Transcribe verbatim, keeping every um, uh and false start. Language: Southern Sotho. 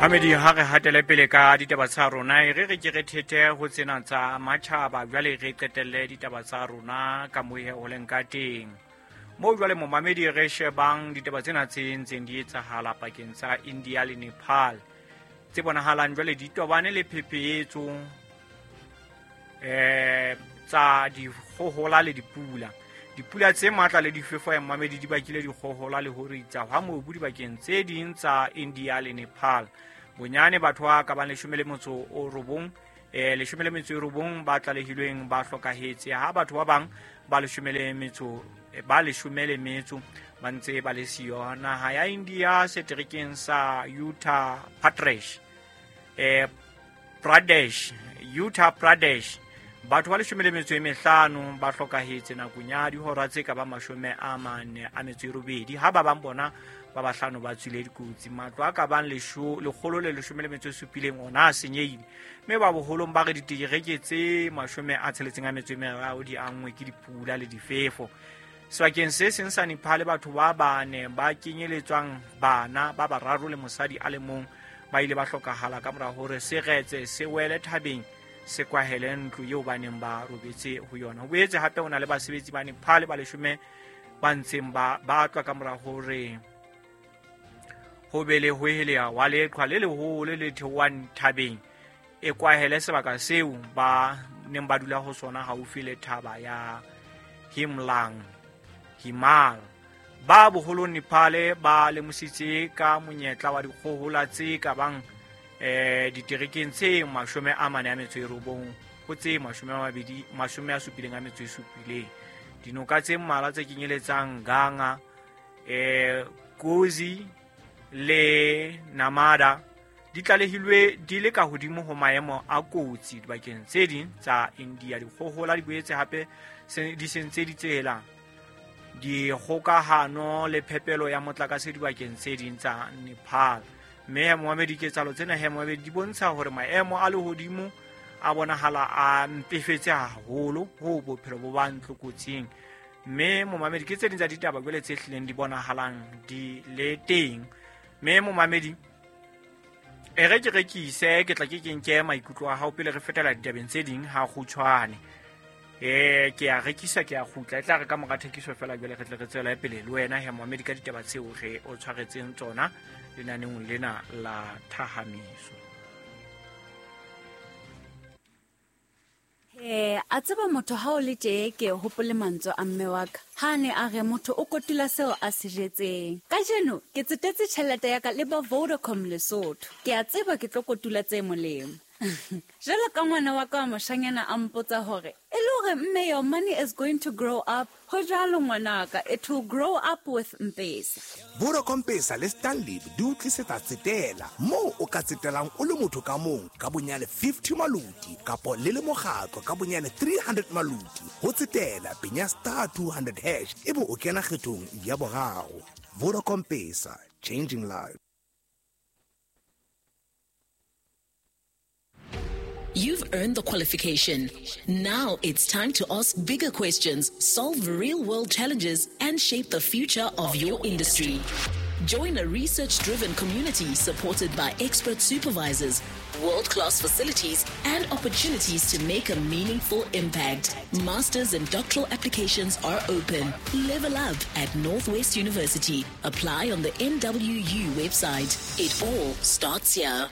Mamedi, ha re hatele pele ka ditaba tsa rona, e re re ke re thete ho tsena tsa matjhaba, jwale re qetelle ditaba tsa rona ka mohe ho leng ka teng. Moo jwale momamedi re shebang ditaba tsena tse ntseng di etsahala pakeng tsa India le Nepal, tse bonahalang jwale di tobane le phephetso eh tsa dikgohola le dipula. Dipula tse matla le difefo ya mamedi di bakile dikgohola le ho ritsa hwa mobu dibakeng tse ding tsa India le Nepal. Bonyane batho ba ka bang leshome le motso o robong, eh leshome le metso e robong ba tlalehilweng ba hlokahetse, ha batho ba bang ba leshome le metso ba leshome le metso ba ntse ba le siyo. Naha ya India seterekeng sa Uttar Pradesh, eh Pradesh, Uttar Pradesh, batho ba leshome le metso e mehlano ba hlokahetse nakong ya dihora tse ka ba mashome a mane a metso e robedi, ha ba bang bona ba bahlano ba tswile dikotsi. Matlo a ka bang lesho lekgolo le leshome le metso e supileng ona a senyehile, mme ba boholong ba re ditereke tse mashome a tsheletseng a metso e meraro di anngwe ke dipula le difefo. Sebakeng se seng sa Nepal, batho ba bane ba kenyeletswang bana ba bararo le mosadi a le mong ba ile ba hlokahala ka mora hore seretse se wele thabeng se kwahele ntlo eo ba neng ba robetse ho yona. Ho boetse hape ho na le basebetsi ba Nepal ba leshome ba ntseng ba batlwa ka mora hore ho be le ho heleha wa leqhwa le leholo le theohang thabeng e kwahele sebaka seo ba neng ba dula ho sona haufi le thaba ya Himlang Himal. Ba boholong Nepal ba lemositse ka monyetla wa dikgohola tse ka bang eh diterekeng tse mashome a mane a metso e robong ho tse mashome a mabedi mashome a supileng a metso e supileng. Dinoka tse mmalwa tse kenyeletsang Ganga, eh Kosi le Namada di tlalehilwe di le ka hodimo ho maemo a kotsi dibakeng tse ding tsa India. Dikgohola di boetse hape di sentse ditsela, dikgokahano le phepelo ya motlakase dibakeng tse ding tsa Nepal. Mme momamedi, diketsahalo tsena he momamedi di bontsha hore maemo a lehodimo a bonahala a mpefetse haholo ho bophelo bo ba ntlokotsing. Mme momamedi, ke tse ding tsa ditaba jwale tse hlileng di bonahalang di le teng. Mme momamedi, e re ke rekise, ke tla ke ke nke maikutlo a hao pele re fetela ditabeng tse ding ha kgutshwane. Eh ke a rekisa, ke a kgutla, e tla re ka mora thekiso fela jwale re tle re tswele pele le wena he momamedi ka ditaba tseo re o tshwaretseng tsona lenaneong lena la Thahamiso. Eh, a tseba motho ha o le tje ke hopole mantswe a mme wa ka. Ha ne a re motho o kotula seo a se jetseng. Kajeno ke tsetetse tjhelete ya ka le ba Vodacom Lesotho. Ke a tseba ke tlo kotula tse molemo. Jwalo ka ngwana wa ka wa moshanyana a mpotsa hore e le hore mme your money is going to grow up. Ho jwalo ngwanaka, it will grow up with M-Pesa. Vodacom Pesa le Stanley di o tlisetsa tsetela moo o ka tsetelang o le motho ka mong ka bonyane fifty maluti kapo le le mokgatlo ka bonyane three hundred maluti. Ho tsetela penya star two hundred hash ebe o kena kgethong ya boraro. Vodacom Pesa, changing lives. You've earned the qualification. Now it's time to ask bigger questions, solve real-world challenges, and shape the future of your industry. Join a research-driven community supported by expert supervisors, world-class facilities, and opportunities to make a meaningful impact. Masters and doctoral applications are open. Level up at Northwest University. Apply on the N W U website. It all starts here.